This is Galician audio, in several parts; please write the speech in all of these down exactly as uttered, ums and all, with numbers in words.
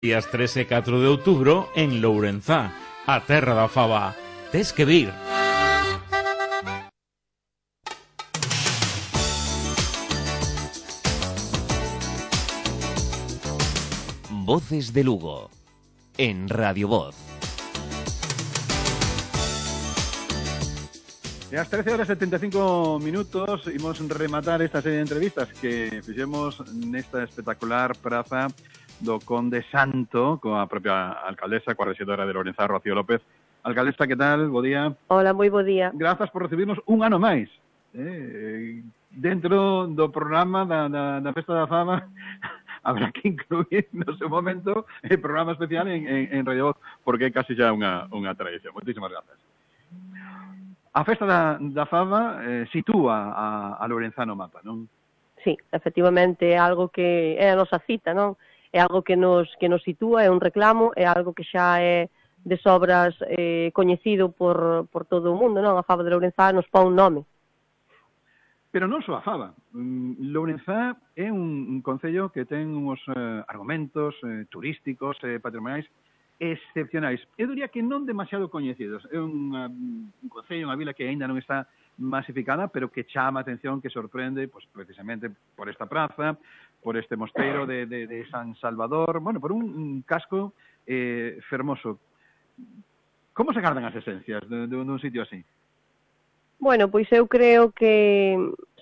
Días tres e catro de outubro en Lourenzá, a terra da fava. Tes que vir. Voces de Lugo, en Radio Voz. E ás trece horas e setenta e cinco minutos imos rematar esta serie de entrevistas que fixemos nesta espectacular praza do Conde Santo coa propia alcaldesa, coa rexedora de Lourenzá, Rocío López. Alcaldesa, que tal? Bo día. Hola, moi bo día. Grazas por recibirnos un ano máis. Eh, dentro do programa da, da, da Festa da Fama habrá que incluir no seu momento el programa especial en, en, en Radio Voz, porque é casi xa unha, unha tradición. Moitísimas grazas. A Festa da, da Fama eh, sitúa a, a Lourenzá no mapa, non? Sí, efectivamente, é algo que é a nosa cita, non? É algo que nos, que nos sitúa, é un reclamo, é algo que xa é de sobras eh, coñecido por, por todo o mundo, non? A Fava de Lourenzá nos pon un nome. Pero non só a Fava. Lourenzá é un, un concello que ten uns eh, argumentos eh, turísticos, eh, patrimoniais, excepcionais. Eu diría que non demasiado coñecidos. É unha, un concello, unha vila que aínda non está masificada, pero que chama a atención, que sorprende, pues, precisamente por esta praza, por este mosteiro de, de, de San Salvador, bueno, por un, un casco eh, fermoso. Como se gardan as esencias de, de, de un sitio así? Bueno, pois eu creo que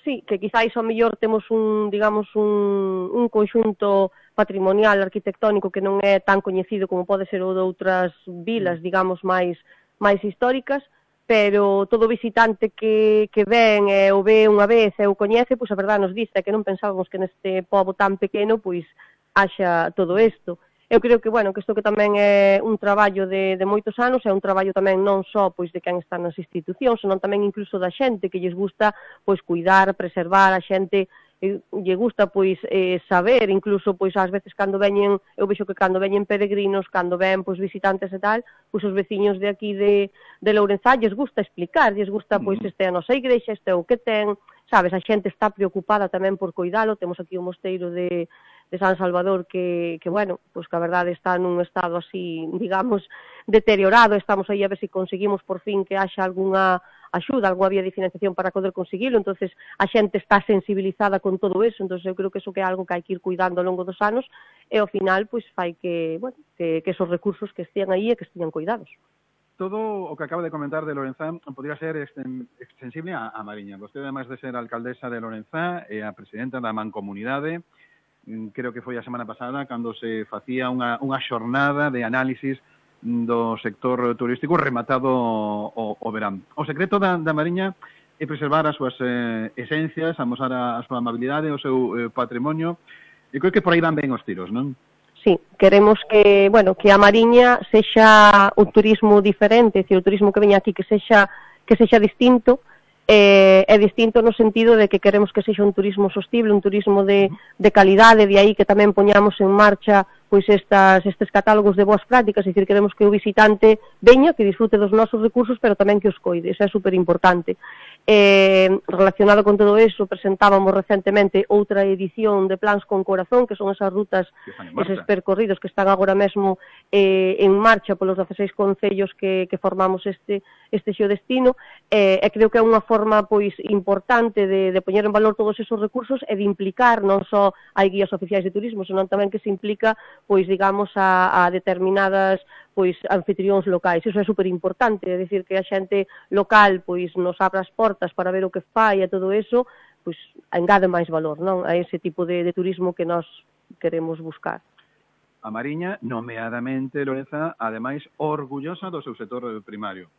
sí, que quizáis ao mellor temos un, digamos, un, un conxunto patrimonial arquitectónico que non é tan coñecido como pode ser o de outras vilas, digamos, máis máis históricas, pero todo visitante que, que ven e o ve unha vez e o coñece, pois a verdade nos dice que non pensábamos que neste pobo tan pequeno pois haxa todo isto. Eu creo que, bueno, que isto que tamén é un traballo de, de moitos anos, é un traballo tamén non só pois de quen está nas institucións, senón tamén incluso da xente que lles gusta pois cuidar, preservar, a xente e lle gusta pois eh, saber, incluso pois ás veces cando veñen, eu vexo que cando veñen peregrinos, cando ven pois visitantes e tal, pois os veciños de aquí de, de Lourenzá lles gusta explicar, lles gusta pois este é a nosa igrexa, este é o que ten, sabes, a xente está preocupada tamén por cuidalo, temos aquí o mosteiro de de San Salvador que, que bueno, pois que a verdade está nun estado así, digamos, deteriorado, estamos aí a ver se conseguimos por fin que haxa algunha axuda, algunha vía de financiación para poder conseguilo, entonces a xente está sensibilizada con todo eso, entonces eu creo que eso que é algo que hai que ir cuidando ao longo dos anos e ao final, pois, fai que, bueno, que, que esos recursos que estean aí e que estean cuidados. Todo o que acaba de comentar de Lourenzá podría ser extensible a, a Mariña. Vostede, además de ser alcaldesa de Lourenzá, é a presidenta da Mancomunidade. Creo que foi a semana pasada cando se facía unha, unha xornada de análisis do sector turístico rematado o, o verán. O secreto da, da Mariña é preservar as súas eh, esencias, amosar a, a súa amabilidade, o seu eh, patrimonio, e creo que por aí van ben os tiros, non? Sí, queremos que, bueno, que a Mariña sexa un turismo diferente, é dicir, o turismo que veña aquí que sexa que sexa distinto. Eh, é distinto no sentido de que queremos que sexa un turismo sostible, un turismo de, de calidade, de aí que tamén poñamos en marcha pois estas, estes catálogos de boas prácticas, é dicir, queremos que o visitante veña, que disfrute dos nosos recursos, pero tamén que os coide, isso é super importante. Eh, relacionado con todo eso, presentábamos recentemente outra edición de Plans con Corazón, que son esas rutas, eses percorridos que están agora mesmo eh, en marcha polos dezaseis concellos que, que formamos este, este xeodestino, eh, e creo que é unha forma pois importante de, de poñer en valor todos esos recursos e de implicar non só hai guías oficiais de turismo, senón tamén que se implica pois digamos a, a determinadas pois anfitrións locais. Iso é super importante, é dicir que a xente local pois nos abra as portas para ver o que fai e todo eso, pois engade máis valor, non? A ese tipo de, de turismo que nós queremos buscar. A Mariña, nomeadamente Lourenzá, ademais orgullosa do seu sector primario.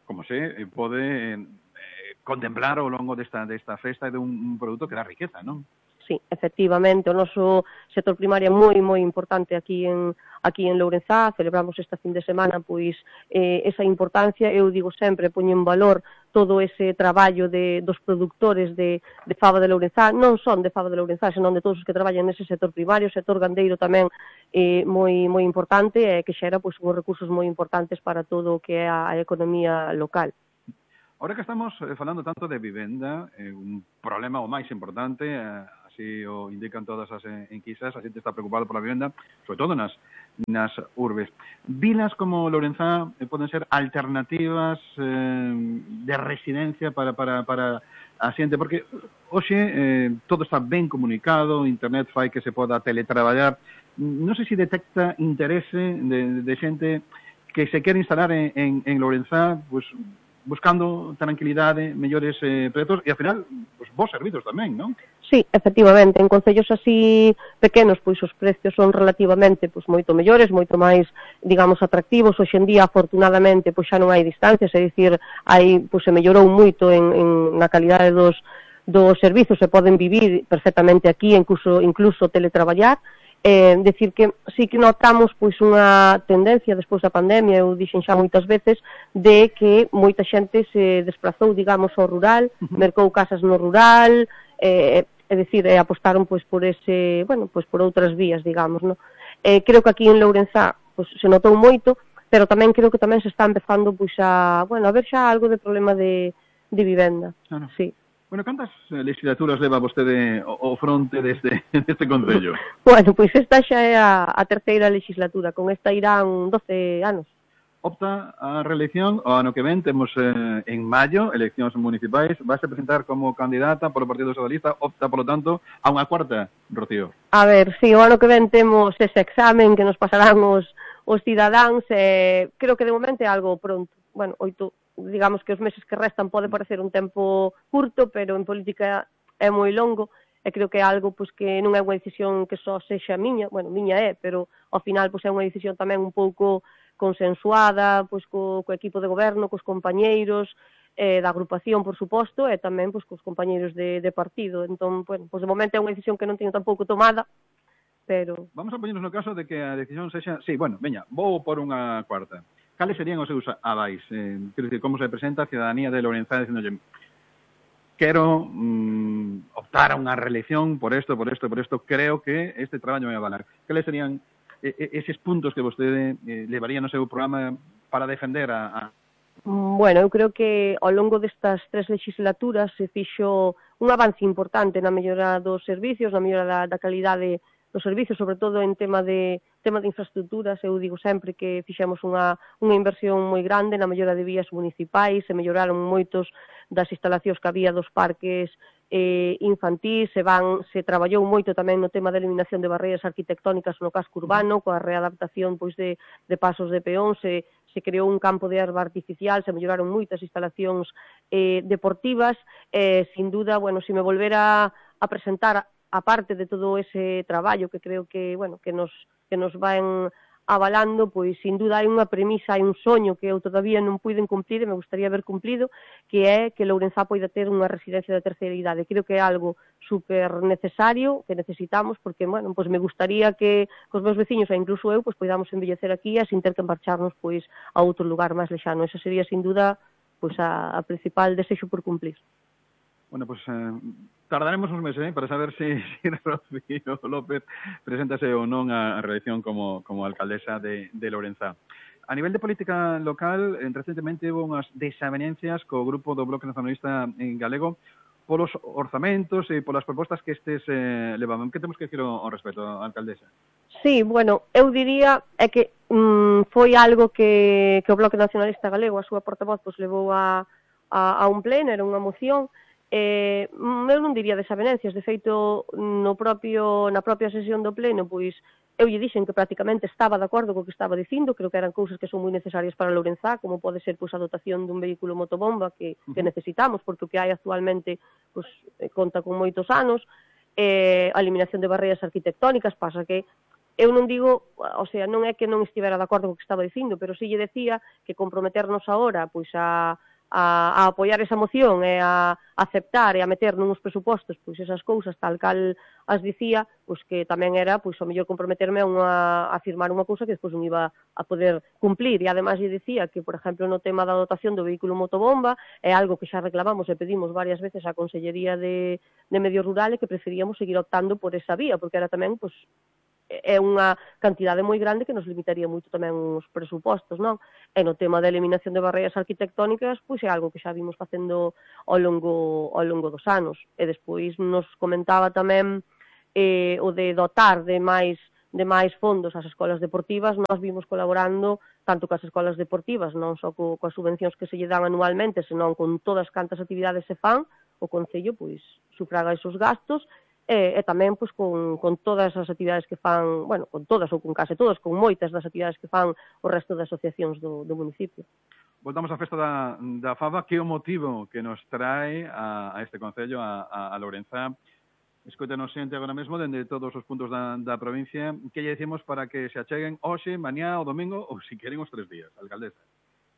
Como se pode eh, contemplar ao longo desta, desta festa de un, un produto que dá riqueza, non? Sí, efectivamente, o noso sector primario é moi, moi importante aquí en aquí en Lourenzá, celebramos esta fin de semana pois eh, esa importancia, eu digo sempre, poño en valor todo ese traballo de, dos produtores de, de fava de Lourenzá, non son de fava de Lourenzá, senón de todos os que traballan nese sector primario, o sector gandeiro tamén eh, moi, moi importante e que xera pois, uns recursos moi importantes para todo o que é a, a economía local. Ahora que estamos falando tanto de vivenda, eh, un problema o máis importante, a así o indican todas as enquisas, a xente está preocupada pola vivenda, sobre todo nas, nas urbes. Vilas como Lourenzá eh, poden ser alternativas eh, de residencia para, para, para a xente, porque hoxe eh, todo está ben comunicado, internet fai que se poda teletraballar. Non sei se detecta interese de, de xente que se quere instalar en, en, en Lourenzá, pues, buscando tranquilidade, mellores eh, proxectos e, ao final, pues, vos servizos tamén, non? Sí, efectivamente, en concellos así pequenos, pois os precios son relativamente pois moito mellores, moito máis, digamos, atractivos. Hoxe en día, afortunadamente, pois xa non hai distancias, é dicir, hai, pois se mellorou moito en, en na calidade dos dos servizos, se poden vivir perfectamente aquí, incluso incluso teletraballar. Eh, decir que sí que notamos pois unha tendencia despois da pandemia, eu dixen xa moitas veces, de que moita xente se desplazou, digamos, ao rural, uh-huh. mercou casas no rural, eh, é dicir, eh, apostaron pois por ese, bueno, pois por outras vías, digamos, no? Eh, creo que aquí en Lourenzá pois se notou moito, pero tamén creo que tamén se está empezando pois a, bueno, a ver xa algo de problema de de vivenda. Ah, no. Sí. Bueno, cantas legislaturas leva vostede o fronte deste, deste concello? Bueno, pois esta xa é a, a terceira legislatura, con esta irán doce anos. Opta a reelección, o ano que ven, temos eh, en maio, eleccións municipais, vais a presentar como candidata polo Partido Socialista, opta, polo tanto, a unha cuarta, Rocío. A ver, si, sí, o ano que ven temos ese examen que nos pasarán os, os cidadáns, eh, creo que de momento é algo pronto, bueno, oito, digamos que os meses que restan pode parecer un tempo curto, pero en política é moi longo, e creo que é algo pois, que non é unha decisión que só sexa miña, bueno, miña é, pero ao final pois, é unha decisión tamén un pouco consensuada pois, co, co equipo de goberno, cos compañeiros, eh, da agrupación, por suposto, e tamén pois, cos compañeiros de, de partido. Entón, bueno, pois, de momento é unha decisión que non teño tampouco tomada, pero... Vamos a poñernos no caso de que a decisión sexa... Sí, bueno, veña, vou por unha cuarta. Cales serían os seus avais? Eh, quero dicir, como se presenta a cidadanía de Lourenzá dicendolle quero mm, optar a unha reelección por esto, por esto, por esto, creo que este traballo me va a valer. Cales serían eh, eses puntos que vostede eh, levaría no seu programa para defender a, a... Bueno, eu creo que ao longo destas tres legislaturas se fixo un avance importante na mellora dos servicios, na mellora da, da calidade dos servicios, sobre todo en tema de tema de infraestructuras. Eu digo sempre que fixemos unha, unha inversión moi grande na mellora de vías municipais, se melloraron moitos das instalacións que había dos parques eh, infantís, se van se traballou moito tamén no tema da eliminación de barreiras arquitectónicas no casco urbano, coa readaptación pois de, de pasos de peón, se, se creou un campo de erva artificial, se melloraron moitas instalacións eh, deportivas, eh, sin duda, bueno, se me volvera a presentar a parte de todo ese traballo que creo que, bueno, que nos que nos van avalando, pois sin duda hai unha premisa, hai un soño que eu todavía non puiden cumplir e me gustaría haber cumplido, que é que Lourenzá poida ter unha residencia de terceira idade. Creo que é algo super necesario, que necesitamos, porque, bueno, pois me gustaría que cos meus veciños e incluso eu, pois podamos envellecer aquí e sin ter que marcharnos pois a outro lugar máis lexano. Esa sería sin duda pois a, a principal desexo por cumplir. Bueno, pues eh, tardaremos uns meses eh, para saber se si, si Rocío López preséntase ou non a, a reelección como, como alcaldesa de, de Lourenzá. A nivel de política local, eh, recentemente houve unhas desavenencias co grupo do Bloque Nacionalista en galego polos orzamentos e polas propostas que estes eh, levaban. Que temos que decir ao, ao respecto, alcaldesa? Sí, bueno, eu diría é que mm, foi algo que, que o Bloque Nacionalista Galego, a súa portavoz, pois, levou a, a, a un pleno, era unha moción. Eh, eu non diría desavenencias, de feito no propio, na propia sesión do pleno pois eu lle dixen que prácticamente estaba de acordo co que estaba dicindo, creo que eran cousas que son moi necesarias para Lourenzá, como pode ser pois a dotación dun vehículo motobomba que, que necesitamos, porque o que hai actualmente pois, conta con moitos anos, eh, a eliminación de barreiras arquitectónicas, pasa que eu non digo, o sea, non é que non estivera de acordo co que estaba dicindo, pero si lle decía que comprometernos agora pois a A, a apoiar esa moción e a aceptar e a meter nuns presupostos pois esas cousas tal cal as dicía, pois que tamén era pois o mellor comprometerme a, unha, a firmar unha cousa que despois non iba a poder cumplir. E ademais lle dicía que, por exemplo, no tema da dotación do vehículo motobomba é algo que xa reclamamos e pedimos varias veces á Consellería de, de Medio Rural e que preferíamos seguir optando por esa vía, porque era tamén pois é unha cantidade moi grande que nos limitaría moito tamén os presupostos, non? E no tema da eliminación de barreiras arquitectónicas, pois é algo que xa vimos facendo ao longo, ao longo dos anos. E despois nos comentaba tamén eh, o de dotar de máis de máis fondos ás escolas deportivas. Nós vimos colaborando tanto cas escolas deportivas, non só co, coas subvencións que se lle dan anualmente, senón con todas cantas actividades se fan, o Concello pois sufraga esos gastos, e, e tamén pois, con, con todas as actividades que fan, bueno, con todas ou con case todas, con moitas das actividades que fan o resto de asociacións do, do municipio. Voltamos á festa da, da Faba. Que é o motivo que nos trae a, a este Concello, a, a, a Lourenzá? Escoítanos xente agora mesmo dende todos os puntos da, da provincia. Que lle decimos para que se acheguen hoxe, mañá ou domingo, ou se queren os tres días, alcaldesa?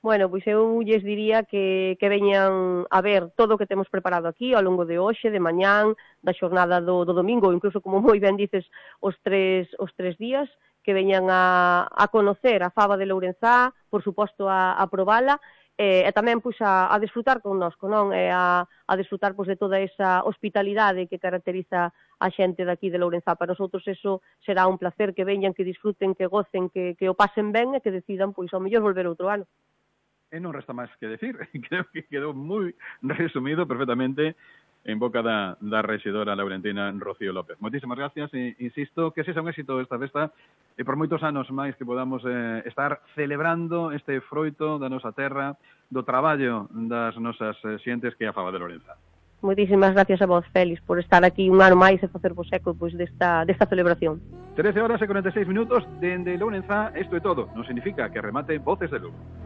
Bueno, pois eu lles diría que, que veñan a ver todo o que temos preparado aquí ao longo de hoxe, de mañán, da xornada do, do domingo, incluso, como moi ben dices, os tres, os tres días, que veñan a, a conocer a Faba de Lourenzá, por suposto a, a probala, e, e tamén pois, a, a disfrutar connosco, non? E a, a disfrutar pois, de toda esa hospitalidade que caracteriza a xente daqui de Lourenzá. Para nosotros eso será un placer, que veñan, que disfruten, que gocen, que, que o pasen ben e que decidan, pois, ao mellor volver outro ano. E non resta máis que decir. Creo que quedou moi resumido perfectamente en boca da, da rexedora laurentina Rocío López. Moitísimas gracias e insisto que sexa un éxito esta festa e por moitos anos máis que podamos eh, estar celebrando este froito da nosa terra, do traballo das nosas eh, xentes que é a Faba de Lourenzá. Moitísimas gracias a vos, Félix, por estar aquí un ano máis e facer vos eco pois, desta, desta celebración. trece horas e cuarenta e seis minutos dende Lourenzá, isto é todo. Non significa que remate Voces de Lugo.